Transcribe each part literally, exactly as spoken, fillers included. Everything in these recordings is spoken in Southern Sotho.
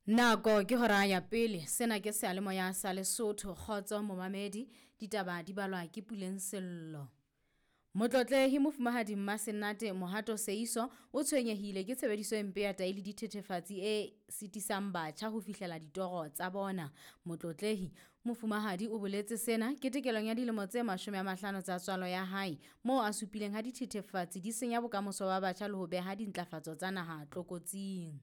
Nako ke hora ya pele, sena ke seyalemoya sa Lesotho. Kgotso momamedi, ditaba di balwa ke Puleng Sello. Motlotlehi Mofumahadi Mmasenate Mohato Seiso o tshwenyehile ke tshebediso e mpe ya tahi le dithethefatsi e sitisang batjha ho fihlela ditoro tsa bona. Motlotlehi Mofumahadi o boletse sena ketekelong ya dilemo tse mashome a mahlano tsa tswalo ya hae, moo a supileng ha dithethefatsi di senya bokamoso ba batjha le ho beha dintlafatso tsa naha tlokotsing.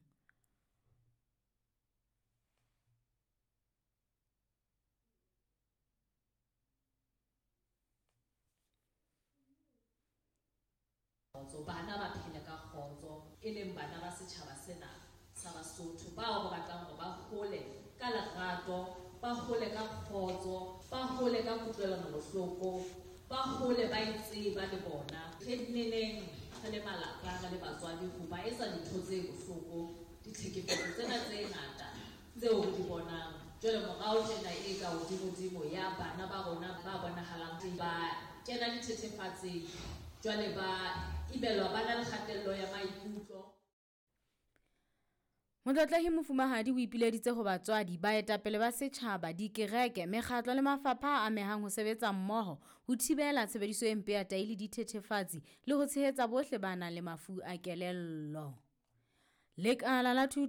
Kgotso, bana ba phele ka kgotso, e leng bana ba setjhaba sena sa Basotho bao re batlang hore ba hole ka lerato, ba hole ka kgotso, ba hole ka kutlwelano bohloko, ba hole ba itseba le bona. Re nneneng re le malapa, re le batswadi ho ba etsa dintho tse bohloko, ditlhekefetso tsena tse ngata tseo re di bonang. Jwale morao tjena e ka hodimodimo ya bana ba rona ba bonahalang ba kena dithethefatsing, jwale ba imelwa, ba na le kgatello ya maikutlo. Motlotlehi Mofumahadi o ipileditse ho batswadi, baetapele ba setjhaba, dikereke, mekgatlo le mafapha a amehang ho sebetsa mmoho ho thibela tshebediso e mpe ya tahi le dithethefatsi le ho tshehetsa bohle ba nang le mafu a kelello. Lekala la thuto